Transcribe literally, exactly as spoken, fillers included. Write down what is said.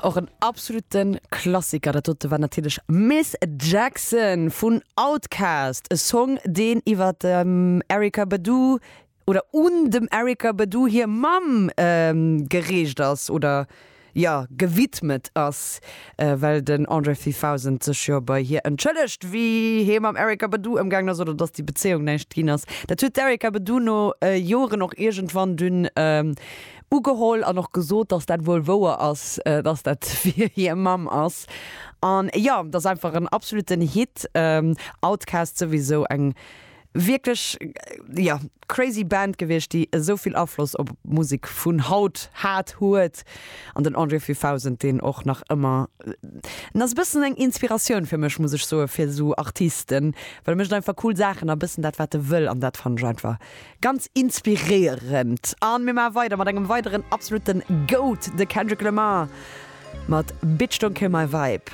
Och en absoluten Klassiker, dat dote war natierlech Miss Jackson vun Outkast, e Song deen iwwer dem Erykah Badu oder un dem Erykah Badu hir Mamm geriicht ass oder jo gewidmet ass, well den André dreitausend sech jo bei hir entschëllegt wéi hie mam Erykah Badu ëmgaangen ass oder dass déi Bezéiung näischt ginn ass. Dat huet d'Erykah Badu no Joren och iergendwann dunn ugeholl an och gesot, dass dat wuel wouer ass, dass dat fir hir Mamm ass. An jo, dat ass einfach en absoluten Hit. Outkast souwisou eng wierklech, jo, crazy Band gewiescht, déi esou vill Afloss op d'Musek vun haut hat, huet. An den André dreitausend, deen och nach ëmmer, en ass e bëssen eng Inspiratioun fir mech, muss ech soen, fir esou Artisten, well e mécht einfach cool Saachen a bëssen dat, wat e wëll an dat fannen ech einfach ganz inspiréierend. An mir maache weider mat engem weideren absoluten Goat, de Kendrick Lamar mat Bitch Don't Kill My Vibe.